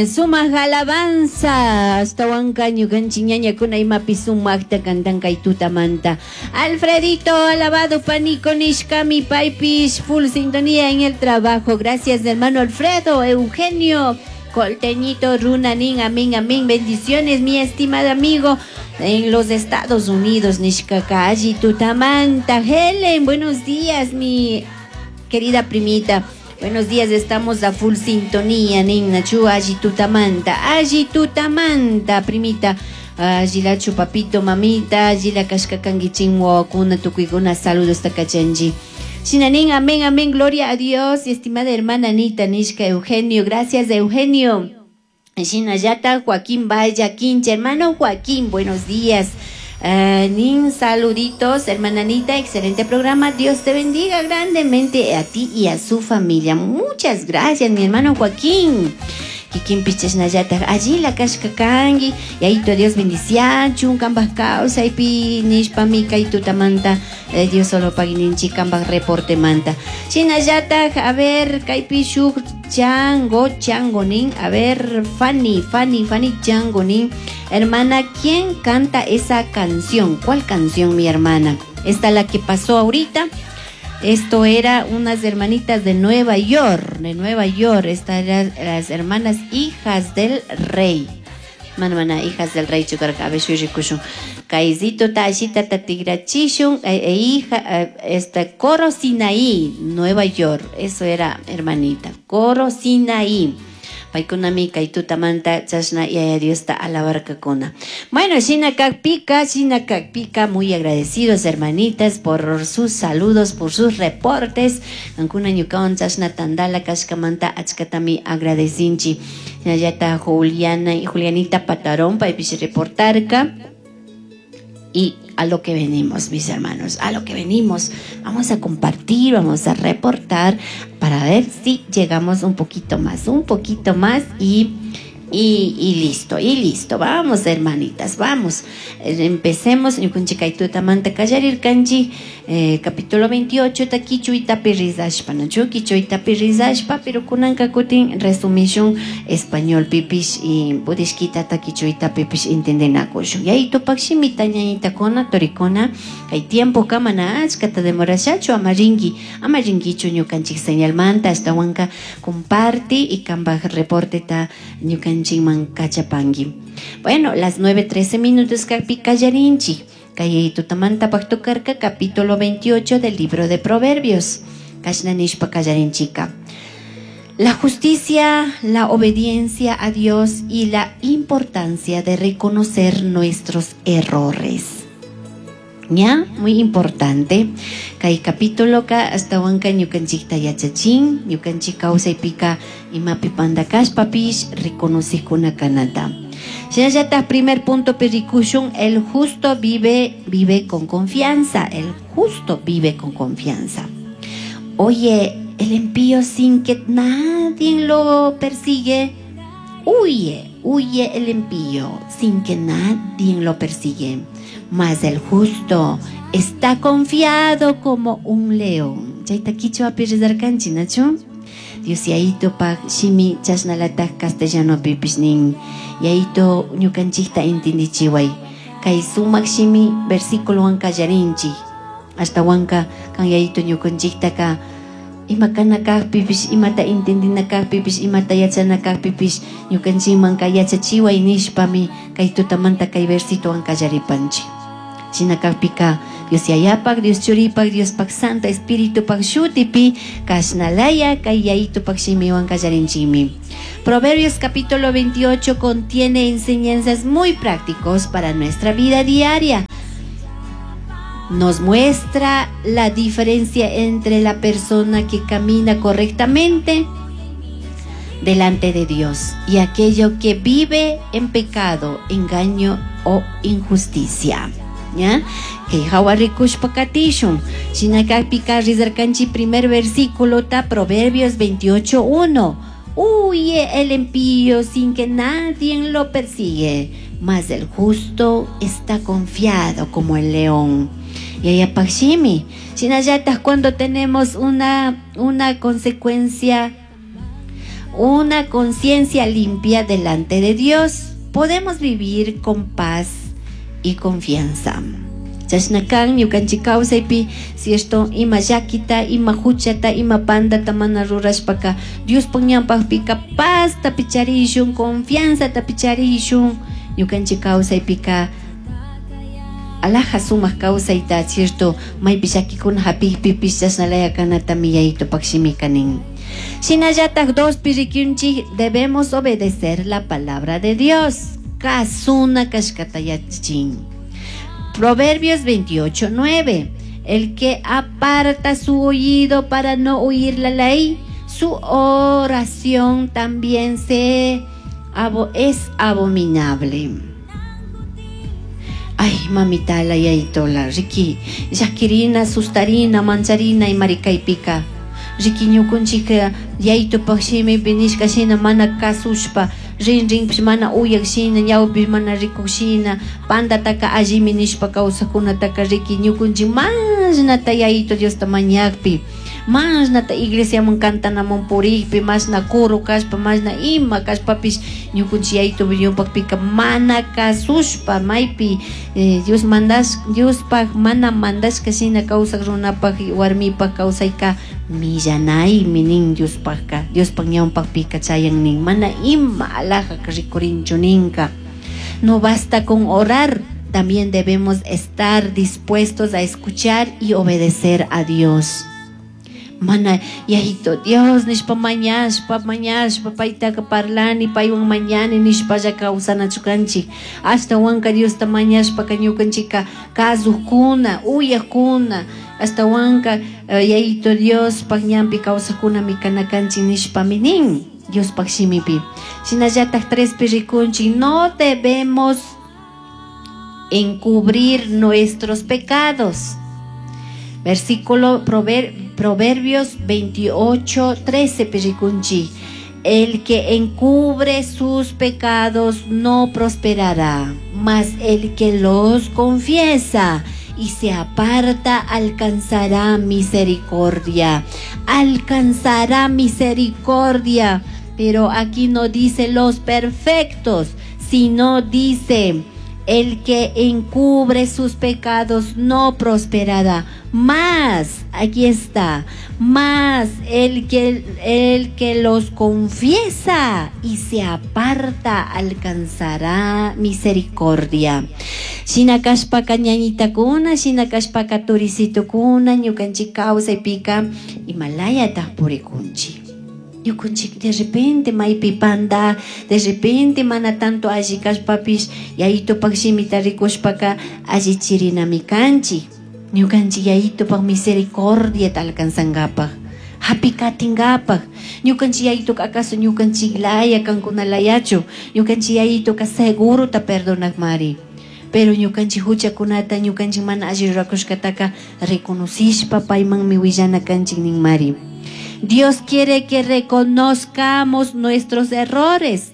Sumak alabanza ashtawanka ñukanchik ñañakuna imapi sumakta cantan kay tutamanta. Alfredito alabado panico nishkami paypish full sintonía en el trabajo. Gracias, hermano Alfredo. Eugenio Colteñito runa nin amén, amén, bendiciones, mi estimado amigo en los Estados Unidos nishkaka alli tutamanta. Helen, buenos días, mi querida primita. Buenos días, estamos a full sintonía, nin nachu alli tutamanta, alli tutamanta, primita. Allilachu papito, mamita, allila kashka kanguichin wawakuna, tukuykuna saludos takachanchi. Shinanin, amén, amén, gloria a Dios. Estimada hermana Anita nishka Eugenio, gracias, Eugenio. Shinallata Joaquín Vaya Quincha, hermano Joaquín, buenos días. Nin saluditos, hermana Anita, excelente programa. Dios te bendiga grandemente a ti y a su familia. Muchas gracias, mi hermano Joaquín. Kikin pichashnallata allila kashka kanki yayito Dios bendiciachun kambaj kawsaypi nishpami kay tutamanta Dios solo pagui ninchik kambaj reporte manta. Shinallataj, a ver, kaypi shuk chango, chango nin, a ver, Fanny, Fanny, Fanny chango nin. Hermana, ¿quién canta esa canción? ¿Cuál canción, mi hermana? Esta la que pasó ahorita. Esto era unas hermanitas de Nueva York, de Nueva York. Estas eran las hermanas hijas del rey. Mana, mana, hijas del rey, chukarka, a ver, shui rikushun. Kaizito ta ashita ta tigrachishun, hija, este, Coro Sinaí, Nueva York. Eso era, hermanita, Coro Sinaí. Paykunami kay tutamanta chashna yaya Diosta alabarkakuna. Bueno, shina kakpika, shina kakpika, muy agradecidos, hermanitas, por sus saludos, por sus reportes. Kankuna ñukawan chashna tandala kashkamanta achkatami agradecinchi. Shinallata Juliana y Julianita Patarón, paypish reportarka. Y a lo que venimos, mis hermanos, a lo que venimos. Vamos a compartir, vamos a reportar para ver si llegamos un poquito más, un poquito más y listo, y listo. Vamos, hermanitas, vamos. Empecemos. Ñukanchik tutamanta kallarirkanchik, capítulo 28, ta kichwitapi rizashpa, nachu kichwitapi rizashpa, pero kunanka kutin resumishun español pipish y pudishkita ta kichwita pipish entendenakushun. Yayitupak shimita ñañitakuna, torikuna, kay tiempo kamana achkata demorashachu, amarinki, amarinkichu ñukanchik señalmanta, ashtawanka comparti y kambaj reporte ta ñukanchikman kachapanki. Bueno, las 9:13 minutos kapi kallarinchik. Kay tutamanta paktukarka, capítulo 28 del libro de Proverbios. Kashna nishpa kallarinchika. La justicia, la obediencia a Dios y la importancia de reconocer nuestros errores. ¿Ya? Muy importante. Kay capítulo ka hasta wanka ñukanchikta yachachin, ñukanchik kawsaypika imapi panda kashpapish reconocikuna kanata. Shinallata primer punto perikushun, el justo vive con confianza. El justo vive con confianza. Oye, el impío sin que nadie lo persigue, huye, huye el impío sin que nadie lo persigue. Mas el justo está confiado como un león. Chayta kichwa pirizarkanchi, nachu? Dios yayito pak shimi chashnalataj castellano pipish nin. Yayito ñukanchikta entendichiway. Kay sumak shimi versículo wanka yarinchi. Hasta wanka kan yayito ñukanchikta ka ima kana kajpipish, imata entendina kajpipish, imata yachana kajpipish, ñukanchikman ka yachachiway nishpami kay tutamanta kay versito wanka yaripanchi. Shina kajpika Dios yayapak, Dios churipak, Diospak Santo Espíritupak shutipi kashnalaya kay yayitupak shimiwan kallarinchimi. Proverbios capítulo 28 contiene enseñanzas muy prácticos para nuestra vida diaria. Nos muestra la diferencia entre la persona que camina correctamente delante de Dios y aquello que vive en pecado, engaño o injusticia. ¿Ya? Que hawa rikushpa katishun. Shinakajpika rizarkanchi primer versículo ta Proverbios 28:1. Huye el impío sin que nadie lo persigue, mas el justo está confiado como el león. Y ayapakshimi, shinallataj cuando tenemos una consecuencia una conciencia limpia delante de Dios. Podemos vivir con paz y confianza. Chashna kan ñukanchik kawsaypi, cierto, ima llakita, ima huchata, ima pandata mana rurashpaka Diospaj ñanpajpika pazta picharishun, confianzata picharishun. Ñukanchik kawsaypika alaja sumak kawsayta, cierto, maypi llakikuna hapikpipish chashnalaya kanatami Yayitopak shimika nin. Shinallatak dospi rikunchik, debemos obedecer la palabra de Dios. Kasuna kashkata yachachin. Proverbios 28:9. El que aparta su oído para no oír la ley, su oración también es abominable. Ay, mamita, la yaitola, riki, llakirina, sustarina, mancharina y maricaypica. Riki ñukunchik yayitupak shimipi nishka shina mana kasushpa, rin rinpish mana uyak shina, ñawpish mana rikuk shina, pandataka allimi nishpa kawsajkunataka riki ñukunchik mashnata Yayito Diosta mañakpi, mashnata iglesiaman cantanaman purikpi, mashna coro kashpa, mashna ima kashpapish ñukunchik Yayito ñawpakpika mana kasushpa, maypi Dios mandash, Diospaj mana mandashka shina kawsak runapak warmipak kawsayka millanaymi nin Diospajka, Diospaj ñawpakpika chayan nin, mana ima alajaka rikurinchu ninka. No basta con orar, también debemos estar dispuestos a escuchar y obedecer a Dios. Mana Yayito Dios nishpa mañashpa mañashpa paytaka parlani paywan mañani nishpalla kawsanachu kanchik. Ashtawanka Diosta mañashpaka ñukanchikka kasukkuna uyakuna ashtawanka Yayito Diospaj ñanpi kawsakkunami kana kanchik nishpami nin Diospaj shimipi. Shinallatak trespi rikunchik, no debemos encubrir nuestros pecados. Versículo Proverbios 28:13, piricunchi. El que encubre sus pecados no prosperará, mas el que los confiesa y se aparta alcanzará misericordia. Alcanzará misericordia. Pero aquí no dice los perfectos, sino dice el que encubre sus pecados no prosperará. Más, aquí está, más el que los confiesa y se aparta alcanzará misericordia. Shina kashpaka ñañitakuna, shina kashpaka turisitukuna, ñukanchik kawsaypika imalayataq purikunchik. Ñukanchik de repente maypi panda, de repente mana tanto alli kashpapish Yayitopak shimita rikushpaka allichirinami kanchik. Ñukanchik Yayitopak misericordiata alcanzangapak, hapikatingapak. Ñukanchik Yayitoka acaso ñukanchik laya kankunalayachu, ñukanchik Yayitoka segurota perdonakmari. Pero ñukanchik huchakunata, ñukanchik mana alli rurakushkataka reconocishpa paymanmi willana kanchik ninmari. Dios quiere que reconozcamos nuestros errores,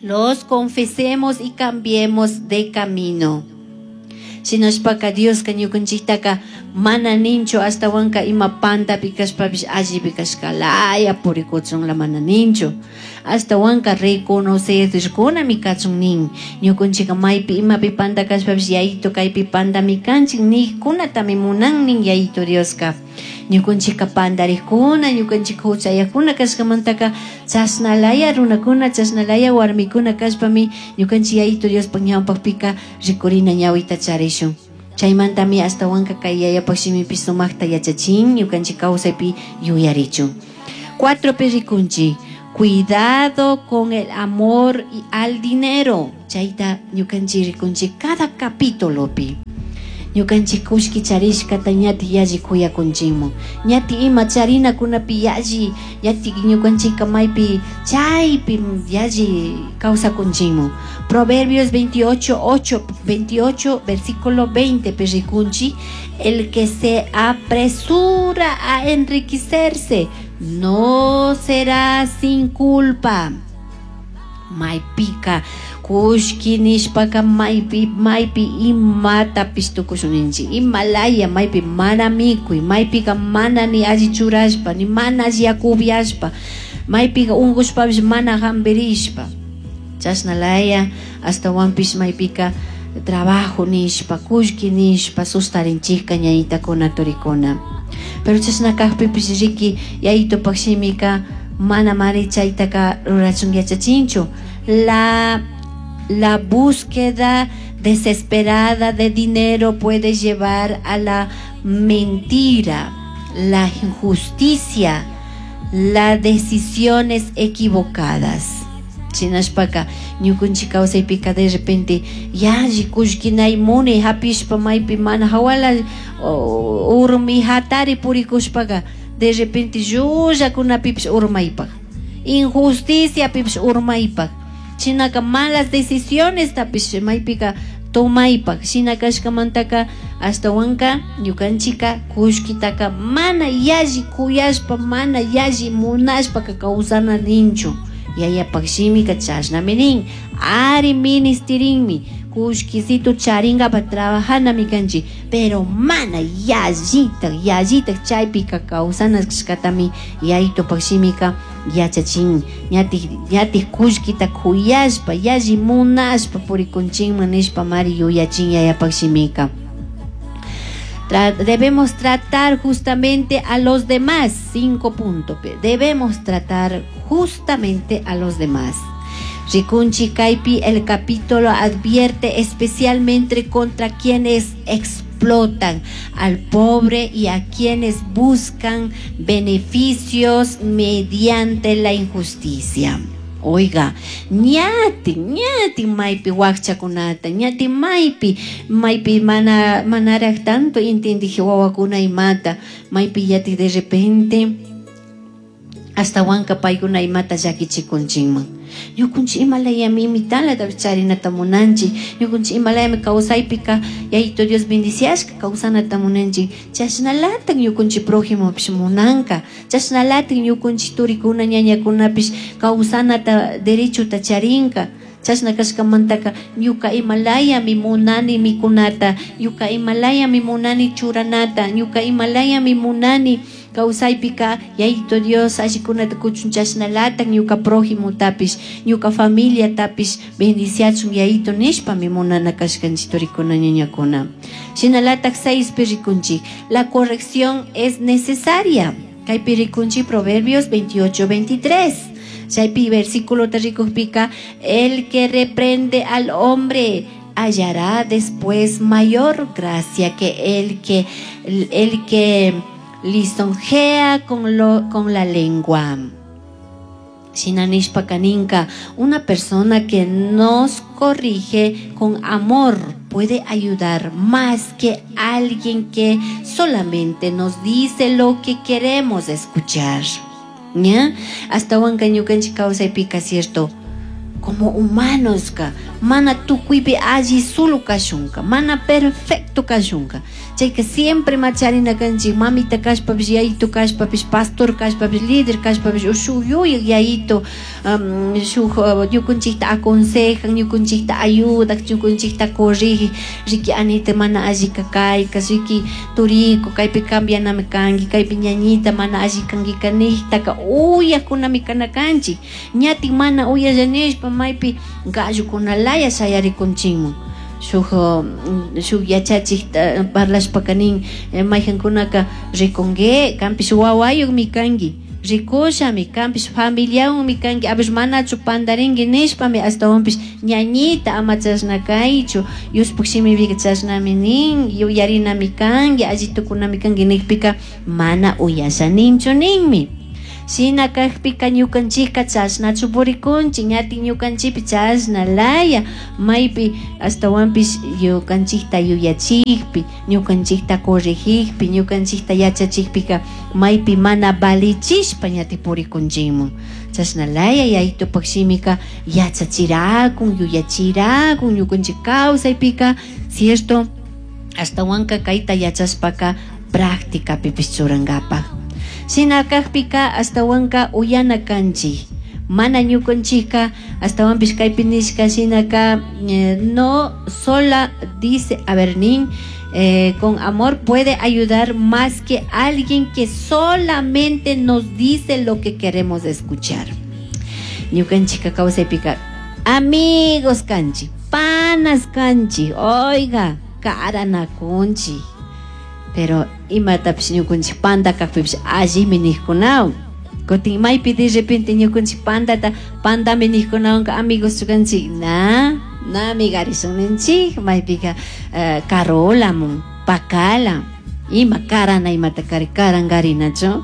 los confesemos y cambiemos de camino. Shinashpaka Dioska ñukanchiktaka mana ninchu ashtawanka ima pantapi kashpapish allipi kashkalaya purikuchunla mana ninchu. Ashtawanka reconocerkunami kachun nin. Ñukanchikka maypi imapi panta kashpapish Yayito kaypi pantami kanchik nijkunatami munan nin Yayito Dioska. Ñukanchikka pantarikuna, ñukanchikka huchayakuna kashkamantaka chashnalaya runakuna, chashnalaya warmikuna kashpami ñukanchik Yayito Diospaj ñawpakpika rikurina ñawita charishun. Chaymantami ashtawanka kay Yayapaj shimipi sumakta yachachin ñukanchik kawsaypi yuyarichun. 4 rikunchik, cuidado con el amor y al dinero. Chayta ñukanchik rikunchik cada capítulopi. Ñukanchik kullki charishkata ñati yalli kuyakunchikmun, ñati ima charinakunapi yalli, ñati ñukanchikka maypi chaypi yalli kawsakunchikmun. Proverbios 28, 28, versículo 20, rikunchik, el que se apresura a enriquecerse no será sin culpa. Maypika kullki nishpaka maypi maypi imatapish tukushun ninchik, imalaya maypi mana mikuy, maypika mana ni alli churashpa, ni mana alli yaku upiashpa, Maypiqa unqushpapish mana hampirishpa. Chashna laya ashtawanpish maypika trabajo nishpa, kullki nishpa sustarinchikka ñañitakuna turikuna. Pero chashna kajpipish riki yayitupak shimika mana mari chaytaka rurachun yachachinchu. La búsqueda desesperada de dinero puede llevar a la mentira, la injusticia, las decisiones equivocadas. Chinashpaka ñukunchik kawsaypika de repente yalli kullkinay munay hapishpa maypi mana hawala urmi hatari purikushpaka de repente llullakunapipish urmaypak, injusticiapipish urmaypak, chinaka malas decisiones tapish maypika tomaypak. Shina kashkamantaka ashtawanka ñukanchika kullkitaka mana yalli kuyashpa, mana yalli munashpaka kawsana ninchu. Yayapak shimika chashnami nin. Ari ministirinmi kullkisitu charingapa trabajanami kanchik, pero mana yallitak yallitak chaypika kawsana kashkatami yayitupak shimika yachachin. Ñatik ñatik kullkita kuyashpa yalli munashpa purikunchinman nishpa mari yuyachin yayapak shimika. Debemos tratar justamente a los demás. 5 puntos. Debemos tratar justamente a los demás. Rikunchi Kaipi, el capítulo advierte especialmente contra quienes explotan al pobre y a quienes buscan beneficios mediante la injusticia. Oiga, ñati, ñati maypi wakchakunata, ñati maypi, maypi mana, manaraj tanto intendije wawakuna imata, maypi yati de repente hasta wanka paykuna imata llakichikunchinman. Ñukunchik imalayami imitalata charinata munanchik, ñukunchik imalayami kawsaypika Yayito Dios bendiciashka kawsanata munanchik, chashnalatan ñukunchik prójimopish munanka, chashnalatan ñukunchik turikuna ñañakunapish kawsanata derechota charinka. Chashna kashkamantaka ñuka imalayami munani mikunata, ñuka imalayami munani churanata, ñuka imalayami munani kawsaypika Yayito Dios allikunata kuchun chashnalatan ñuka prójimotapish, ñuka familiatapish bendiciachun Yayito nishpami munana kashkanchik turikuna ñañakuna. Shinalatak 6 rikunchik, la corrección es necesaria. Kaypi rikunchik Proverbios 28:23. Chaypi versículo te rikujpika, el que reprende al hombre hallará después mayor gracia que el que lisonjea con la lengua. Shina nishpa kaninka, una persona que nos corrige con amor puede ayudar más que alguien que solamente nos dice lo que queremos escuchar. ¿Ya? Hasta wanka ñukanchik kawsaypika, cierto, como humanos ka, mana tukuypi alli sulu kashunka, mana perfecto kashunka. Chayka siempre macharina kanchik, mamita kashpapish, yayito kashpapish, pastor kashpapish, líder kashpapish, o shuk yuyaq yayito, shuk ñukanchikta aconsejan, ñukanchikta ayudak, ñukanchikta corrige, riki anita mana alli kayka, riki turiku, kaypi cambianami kanki, kaypi ñañita mana alli kankika nijtaka uyakunami kana kanchik. Ñatin mana uyallanishpa maypi gallukunalaya shayarikunchinman. Shuk, shuk yachachikta parlashpaka nin, mayjankunaka rikunki, kanpish wawayuqmi kanki, rikushami, kanpish familiawanmi kanki, apish manachu pandarinki nishpami ashtawanpish ñañita ama chashna kaychu, Diospuk shimipika chashnami nin, yuyarinami kanki, alli tukunami kanki nijpika mana uyasha ninchu ninmi. Shina kajpika ñukanchikka chashnachu purikunchik, ñati ñukanchikpi chashna laya, maypi ashtawanpish ñukanchikta yuyachikpi, ñukanchikta corregikpi, ñukanchikta yachachikpika maypi mana valichishpa ñati purikunchikman. Chashna laya yayitupak shimika yachachirakun, yuyachirakun ñukanchik kawsaypika, cierto, ashtawanka kayta yachashpaka prácticapipish churankapak. Shina kajpika ashtawanka uyana kanchik. Mana ñukanchikka ashtawanpish kaypi nishka shinaka, no sola dice, a ver, nin, Con amor puede ayudar más que alguien que solamente nos dice lo que queremos escuchar. Ñukanchika kawsaypika amigos kanchik, panas kanchik, oiga, karanakunchik. Pero imatapish ñukanchik panda kakpipish allimi nijkunawan. Kutin maypi de repente ñukanchik pandata pandami nijkunawanka amigos kanchik, na, na amigarishun ninchik, maypika karolamun, pakala, ima karana imata kari karangarinachu.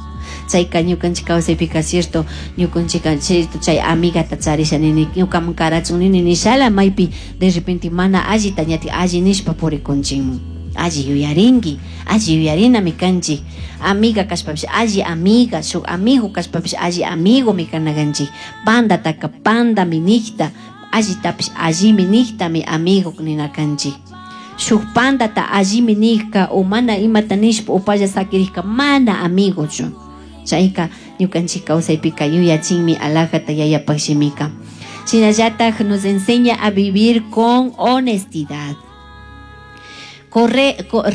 Chayka ñukanchik kawsaypika cierto, ñukanchika cierto chay amigata charisha nini, ñukaman karachun nini nishala maypi de repente mana allita ñati alli nishpa purikunchikmun. Alli yuyarinki, alli yuyarinami kanchik. Amiga kashpapish alli amiga, shuk amigo kashpapish alli amigomi kana kanchik. Pandataka pandami nijta, allitapish allimi nijtami amigo nina kanchik. Shuk pandata allimi nijka o mana imata nishpa upalla sakirijka mana amigochu. Chayka ñukanchik kawsaypika yuyachinmi alajata yayapaj shimika. Shinallataj nos enseña a vivir con honestidad.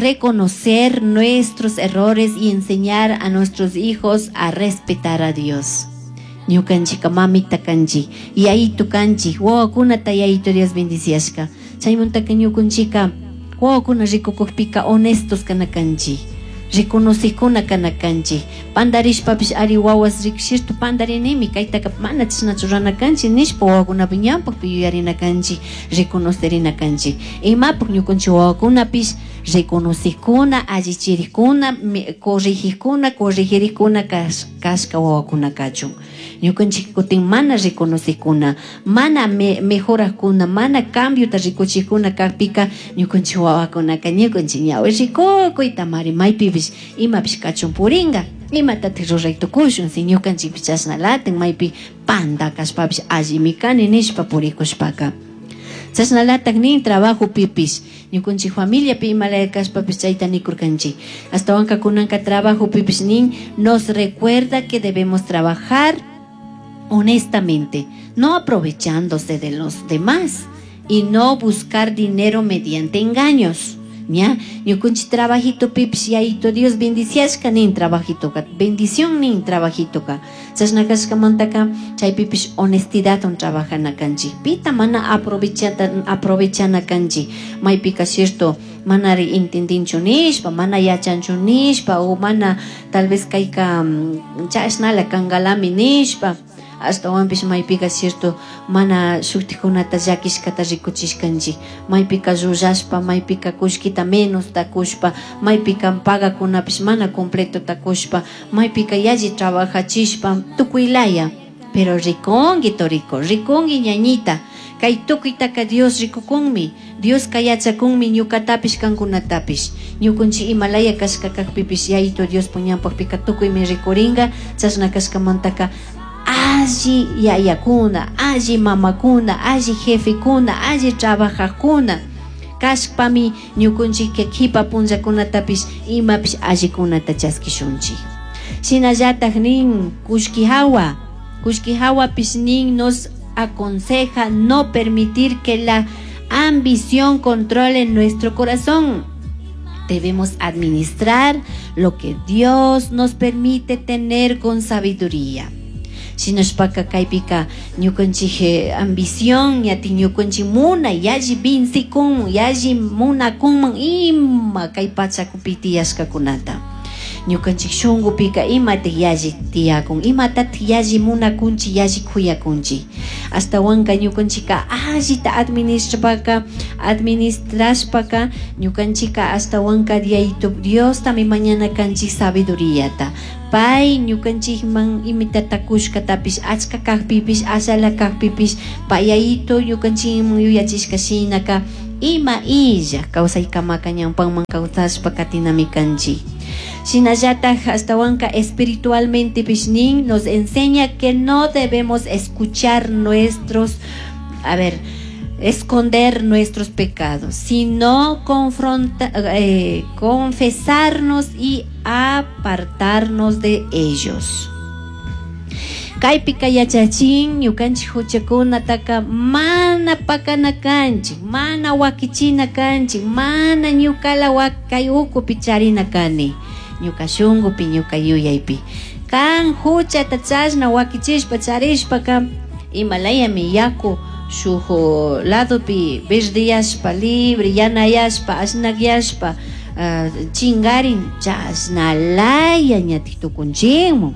Reconocer nuestros errores y enseñar a nuestros hijos a respetar a Dios. Ñukanchika mamita kanchik, yayitu kanchik, wawakunata yayitu Dios bendiciashka. Chaymantaka ñukanchika wawakuna rikukukpika honestos kana kanchik, reconocikuna kana kanchik. Pandarishpapish ari wawas rikshirtu pandarinimi, kaytaka mana chashnachu rurana kanchik nishpa wawakunapi ñampakpi yuyarina kanchik, reconocerina kanchik. Imapak ñukanchik wawakunapish reconocikuna, allichirikuna, corregikuna, corregirikuna kashka wawakuna kachun. Ñukanchik kutin mana reconocikuna, mana mejorakuna, mana cambiota rikuchikuna kakpika ñukanchik wawakunaka ñukanchik ñawi rikukuyta mari maypipish imapish kachun puringa. Imatatik ruray tukushun si ñukanchikpish chashnalatin maypi panda kashpapish allimi kani nishpa purikushpaka. Chashnalatak nin trabajo pipish ñukanchik familiapi imalaya kashpapish chayta nikurkanchik. Astawanka kunanka trabajo pipish nin nos recuerda que debemos trabajar honestamente, no aprovechándose de los demás y no buscar dinero mediante engaños. ¿Ya? Ñukanchik trabajito pipish yayito Dios bendiciashka nin trabajito ka, bendición nin trabajito ka. Chashna kashkamantaka chay pipish honestidad on trabajana kanchik. Pita mana aprovechana kanchik. Maypika cierto manari entendinchu nishpa, mana yachanchu nishpa, o mana tal vez kayka, chashnala kangalami nishpa. Ashtawanpish maypika cierto mana shuktikunata llakishkata rikuchishkanchik. Maypika llullashpa, maypika kullkita menos takushpa, maypika pagakunapish mana completo takushpa, maypika yalli trabajachishpa, tukuylaya. Pero rikunki toriko, rikunki ñañita. Kay tukuytaka Dios rikukunmi, Dioska yachakunmi ñukatapish kankunatapish. Ñukunchik imalaya kashka kakpipish yayito Dios puñanpakpika tukuymi rikuringa, chashna kashkamantaka alli yayakuna, alli mamakuna, alli jefekuna, alli trabajajkuna kashpami ñukunchik kipa punllakunatapish imapish allikunata chaskishunchik. Shinallataj nin kullki hawa, kullki hawapish nin nos aconseja no permitir que la ambición controle nuestro corazón. Debemos administrar lo que Dios nos permite tener con sabiduría. Shinashpaka kaypika ñukanchik ambición ñati ñukanchik munay yalli vincikun yalli munakunman ima kay pachakupi tiyashkakunata. Ñukanchik shunqupika imatik yalli tiyakun, imatatik yalli munakunchik, yalli kuyakunchik. Ashtawanka ñukanchika allita administrashpaka ñukanchika ashtawanka Yayitu Diostami mañana kanchik sabiduriyata. Pay ñukanchikman imitata kushkatapish achka kakpipish ashala kakpipish pay Yayitu ñukanchikman yuyachishka shinaka ima illa kawsaykamaka ñawpanman kawsashpa katinami kanchik. Shinallataj ashtawanka espiritualmente pish nin nos enseña que no debemos escuchar nuestros, a ver, esconder nuestros pecados, sino confesarnos y apartarnos de ellos. Kaypika yachachin ñukanchik huchakunataka mana pakana kanchik, mana wakichina kanchik, mana ñukala kay ukupi charina kani, ñuka shunkupi, ñuka yuyaypi. Kan huchata chashna wakichishpa charishpaka imalayami yaku shuk ladopi verdeyashpa, libre yanayashpa, asnakyashpa chingarin chashnalaya ñatik tukunchinmun.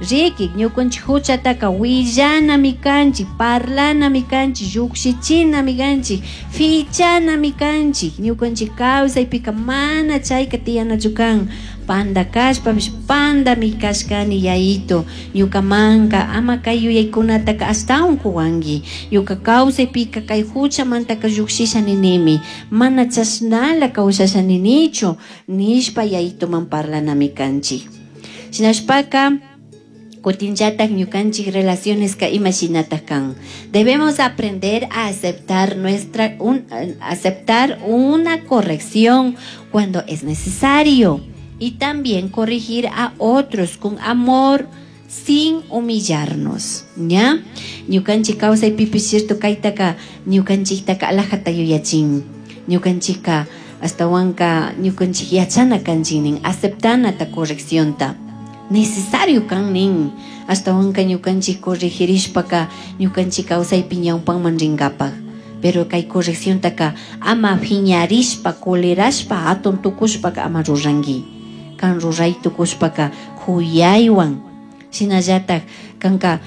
Riki ñukanchik huchataka willanami kanchik, parlanami kanchik, lluksichinami kanchik, fichanami kanchik. Ñukanchik kawsaypika mana chayka tiyanachu kan. Panda kashpapish pandami kashkani yayito. Ñukamanka ama kay yuyaykunataka ashtawan kuwanki. Ñuka kawsaypika kay huchamantaka llukshisha ninimi. Mana chashnala kawsasha ninichu nishpa yayituman parlanami kanchik. Shinashpaka kutinllatak ñukanchik relaciones ka ima shinatak kan. Debemos aprender a aceptar aceptar una corrección cuando es necesario y también corregir a otros con amor sin humillarnos, ¿ya? Ñukanchik kawsaypipish cierto kaytaka ñukanchiktaka alajata yuyachin. Ñukanchikka astawanka ñukanchik yachana kanchik nin, aceptanata correccionta. Necesario kan nin, astawanka ñukanchik corregirishpaka ñukanchik kawsaypi ñawpanman rinkapak. Pero kay correcciontaka ama phiñarishpa, colerashpa, hatun tukushpaka ama ruranki. Kan ruray tukushpaka kuyaywan, shinallatak kanka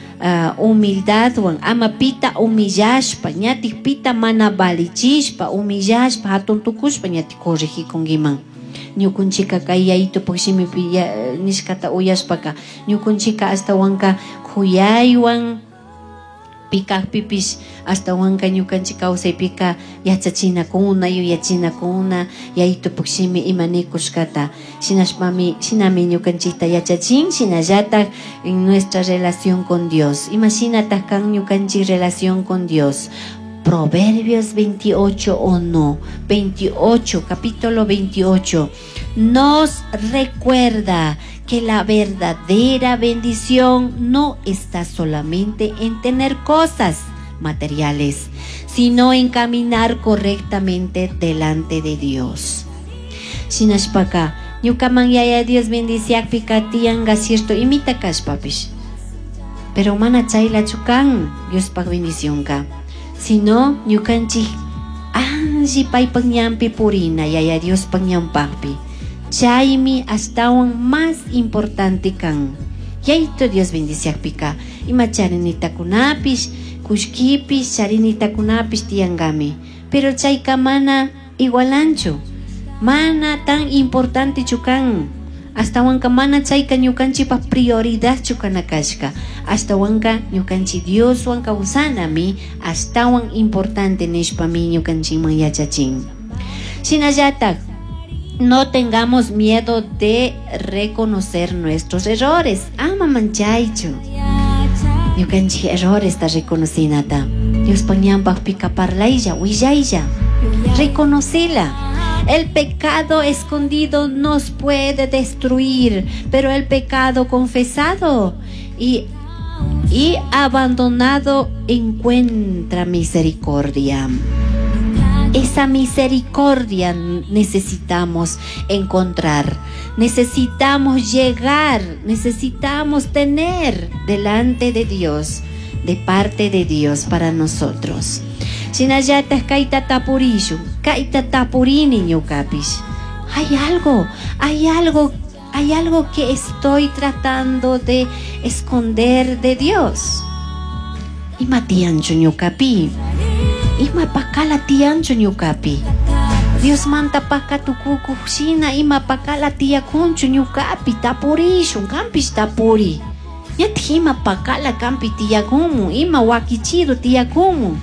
humildadwan, ama pita humillashpa, ñatik pita mana valichishpa, humillashpa, hatun tukushpa ñatik corregikunkiman. Ñukunchika kay yayitupak shimipi nishkata uyashpaka ñukunchika astawanka kuyaywan pikakpipish astawanka ñukanchik kawsaypika yachachinakuna, yuyachinakuna yayitupak shimi ima nikushkata. Shinashpami, shinami ñukanchikta yachachin, shinallatak en nuestra relación con Dios. Ima shinatak kan ñukanchik relación con Dios. Proverbios 28 o no, 28, capítulo 28, nos recuerda que la verdadera bendición no está solamente en tener cosas materiales, sino en caminar correctamente delante de Dios. Shinashpaka, ñukaman yaya Dios bendiciakpika tiyanga cierto imita kashpapish, pero mana chaylachu kan Diospaj bendicionka, sino ñukanchik alli paypak ñanpi purina yaya Diospaj ñanpakpi. Chaymi ashtawan más importante kan. Yayito Dios bendiciakpika ima charinitakunapish, kullkipish, charinitakunapish tiyangami. Pero chayka mana igualanchu, mana tan importantechu kan. Ashtawanka mana chayka ñukanchikpa prioridadchu kana kashka. Ashtawanka ñukanchik Dioswan kawsanami ashtawan importante nishpami ñukanchikman yachachin. Shinallatak, no tengamos miedo de reconocer nuestros errores. Ama manchaychu. Ñukanchik errores ta reconocinata. Diospa ñanpaqpika parlaylla, willaylla. Reconocila. El pecado escondido nos puede destruir, pero el pecado confesado y abandonado encuentra misericordia. Esa misericordia necesitamos encontrar, necesitamos llegar, necesitamos tener delante de Dios, de parte de Dios para nosotros. Shinallatak kayta tapurishun, kayta tapurini ñukapish. Hay algo, hay algo, hay algo que estoy tratando de esconder de Dios. Ima tiyanchu ñukapi? Ima pakala tiyanchu ñukapi? Dios manta pakatukukuj shina ima pakala tiyakunchu ñukapi? Tapurishun, kanpish tapuri. Ñatik ima pakala kanpi tiyakunmu, ima wakichido tiyakunmu.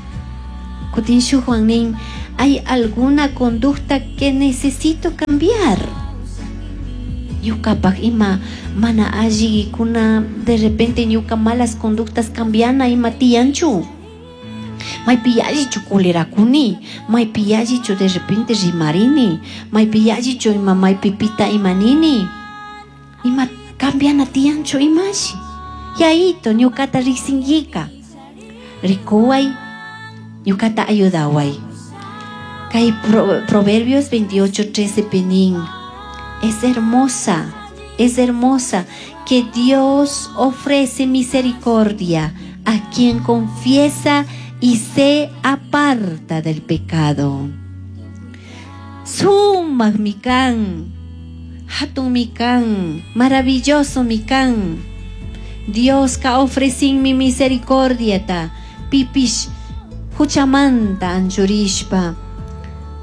Kutin shukwan nin, hay alguna conducta que necesito cambiar. Ñukapak ima mana allikuna, de repente ñuka malas conductas cambiana ima tiyanchu. Maypi yallichu colerakuni, maypi yallichu de repente rimarini, maypi yallichu ima maypi pita ima nini. Ima cambiana tiyanchu imashi. Yaito ñukata riqsinllika. Rikuway, ñukata ayudaway. Kay Proverbios 28:13 pinin. Es hermosa que Dios ofrece misericordia a quien confiesa y se aparta del pecado. Sumaq mi kan, hatun mi kan, maravilloso mi kan. Dios ka ofrecin mi misericordia ta pipish huchamanta anchurishpa,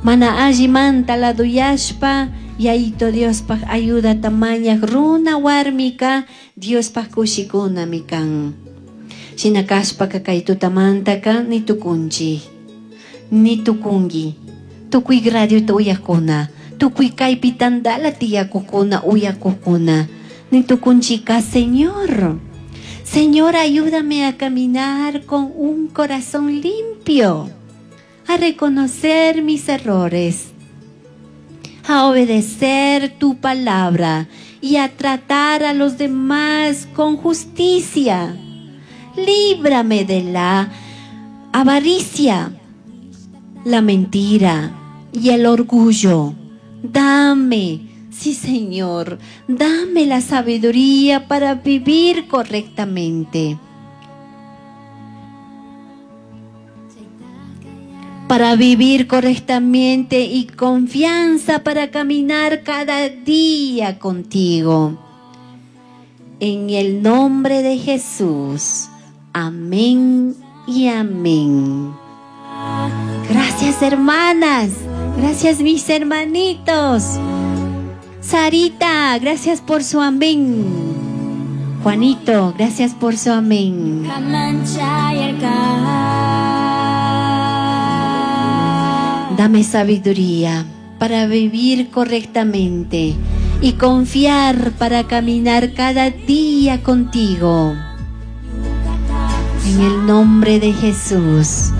mana allimanta laduyashpa, Yaito Diospaj ayudata mañaj runa warmika Diospaj kushikunami kan. Shina kashpaka kay tutamantaka ni tukunchik, ni tukunki. Tukuy radiota uyakuna, tukuy kaypi tantala tiyakukuna uyakukuna. Ni tukunchika, Señor. Señor, ayúdame a caminar con un corazón limpio, a reconocer mis errores, a obedecer tu palabra y a tratar a los demás con justicia. Líbrame de la avaricia, la mentira y el orgullo. Dame, sí Señor, dame la sabiduría para vivir correctamente. Para vivir correctamente y confianza para caminar cada día contigo. En el nombre de Jesús. Amén y amén. Gracias, hermanas. Gracias, mis hermanitos. Sarita, gracias por su amén. Juanito, gracias por su amén. Dame sabiduría para vivir correctamente y confiar para caminar cada día contigo. En el nombre de Jesús.